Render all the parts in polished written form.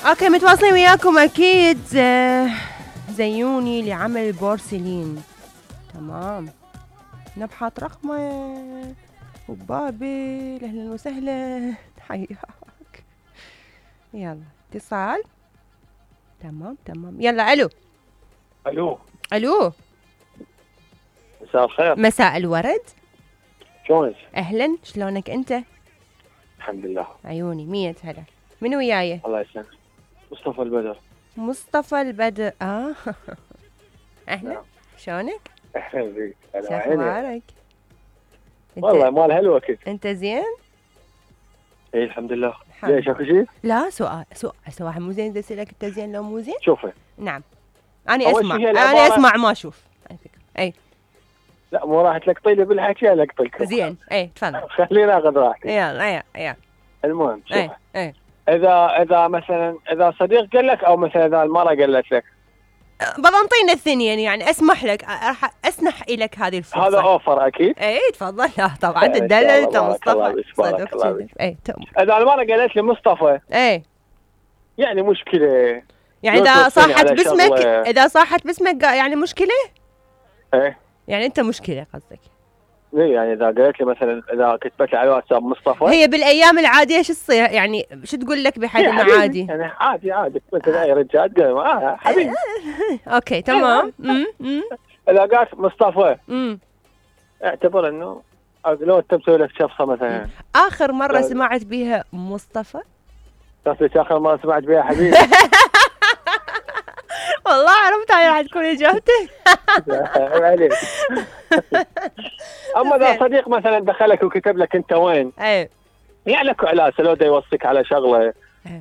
اوكي متواصلين وياكم اكيد. زيوني لعمل بورسلين. تمام. نبحث رقمه وبابل. اهلا وسهلا. حياك. يلا اتصال. تمام. يلا الو. الو. مساء الخير. مساء الورد. شلونك؟ اهلا، شلونك انت؟ الحمد لله. عيوني 100 هلا. من وياي؟ الله يسلمك. مصطفى البدر. مصطفى البدر. اهلا. نعم. شلونك؟ اهلا بك. شو اخبارك؟ والله مال هلوة كنت. انت زين؟ اي الحمد لله. ليش اكو شيء؟ لا سؤال مو زين. بدي اسالك انت زين لو مو زين؟ شوفي. نعم. انا اسمع ما اشوف على فكره. اي لا مو راح تلقطي لي بالحكي القطلك. زين. اي تفضل. خلينا اخذ راحتي. يلا. المهم شوف. اي اذا مثلا اذا صديق قال لك او مثلا اذا المرأة قالت لك بضنطينا الثنين يعني اسمح لك راح اسنح لك هذه الفرصه. هذا اوفر اكيد. اي تفضل. لا طبعا تدلل انت مصطفى. اي اذا المرأة قالت لي مصطفى اي يعني مشكلة. يعني اذا صاحت باسمك يعني مشكلة. ايه يعني انت مشكلة قصدك. ليه يعني اذا قالت لي مثلا اذا كتبت لي على الواتساب مصطفى هي بالايام العاديه شو تصير يعني شو تقول لك بحد انه عادي يعني عادي مثل اي رجال قال حبيبي. اوكي تمام. اذا قالت مصطفى اعتبر انه لو انت مسوي لك شفصه مثلا. اخر مره سمعت بيها مصطفى قصدك اخر مره سمعت بيها حبيبي. والله عرفت هاي راح تكون اجابتك. عليك. اما اذا صديق مثلا دخلك وكتب لك انت وين؟ ايه يعني لك علاسه لو دا يوصيك على شغله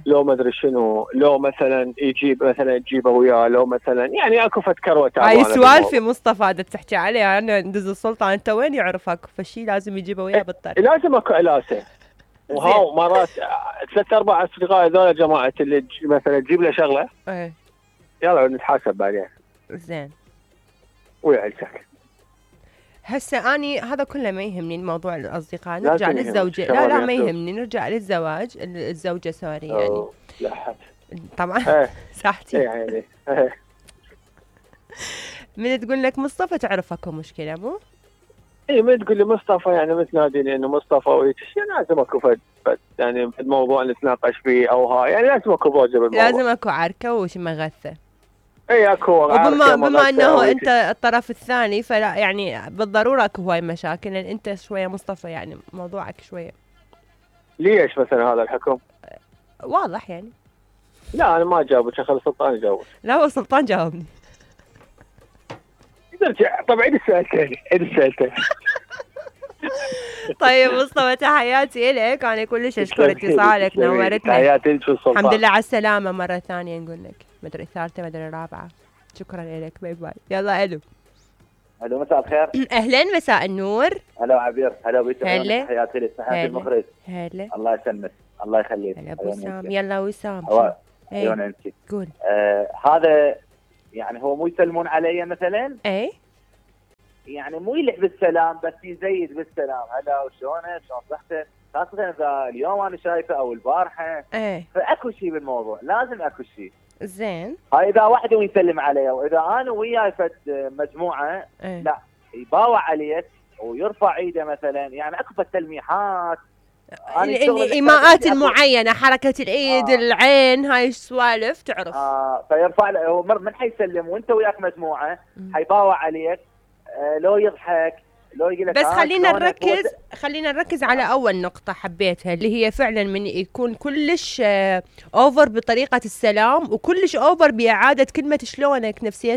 لو ما ادري شنو لو مثلا يجيب مثلا تجيبه وياه لو مثلا يعني اكو فد كروه. هاي سوالفي مصطفى هذا تحكي عليه انا ندز السلطه انت وين يعرفك فشي لازم يجيبه وياه بالطريق. لازم اكو علاسه. وهاو مرات 3-4 اصدقاء هذول جماعه اللي مثلا تجيب له شغله. ايه يلا نتحاسب بعدين. زين. ويعيشك. هسه اني هذا كله ما يهمني الموضوع الاصدقاء نرجع للزوجه. لا ما يهمني نرجع للزواج الزوجه سوري يعني. لا حد. طبعا صحتي. يعني من تقول لك مصطفى تعرف اكو مشكله مو؟ اي من تقول لي مصطفى يعني متناديني انه مصطفى وهيك يعني لازم اكو فد يعني الموضوع نتناقش فيه او هاي يعني لازم اكو ضوجه بالموضوع. لازم اكو عركه وش مغثه. اي اكو عركه. بما انه انت الطرف الثاني فلا يعني بالضروره اكو هواي مشاكل لان انت شويه مصطفى يعني موضوعك شويه. ليش مثلا هذا الحكم؟ واضح يعني. لا انا ما جاوبك خلي سلطان يجاوب. لا هو سلطان جاوبني. نرجع طبعا عيد السؤال ثاني. طيب مصطفى تحياتي لك انا كلش اشكر اتصالك نورتنا. تحياتي لك سلطان. الحمد لله على السلامه مره ثانيه نقول لك مدري ثالثه مدري رابعه. شكرا لك باي باي. يلا الو مساء الخير. اهلا مساء النور. هلا عبير. هلا بيك. هلا تحياتي لك تحياتي المخرج. هلا الله يسلمك الله يخليك. هلا ابو وسام. يلا وسام عيون انت قول. هذا يعني هو مو يسلمون علي مثلا اي يعني مو يلح بالسلام بس يزيد بالسلام. هلا وشلونك شلون صحتك خاصة اذا اليوم انا شايفه او البارحه. فاكو شيء بالموضوع لازم اكو شيء. زين. هاي اذا واحد يسلم علي واذا انا وياي فد مجموعه لا يباوع عليك ويرفع ايده مثلا يعني اكو فد تلميحات الايماءات المعينه حركه الايد العين هاي السوالف تعرف. فيرفع له من حيسلم وانت وياك مجموعه حيباوع عليك لو يضحك لو يقول لك بس خلينا نركز على اول نقطه حبيتها اللي هي فعلا من يكون كلش اوفر بطريقه السلام وكلش اوفر باعاده كلمه شلونك نفسيه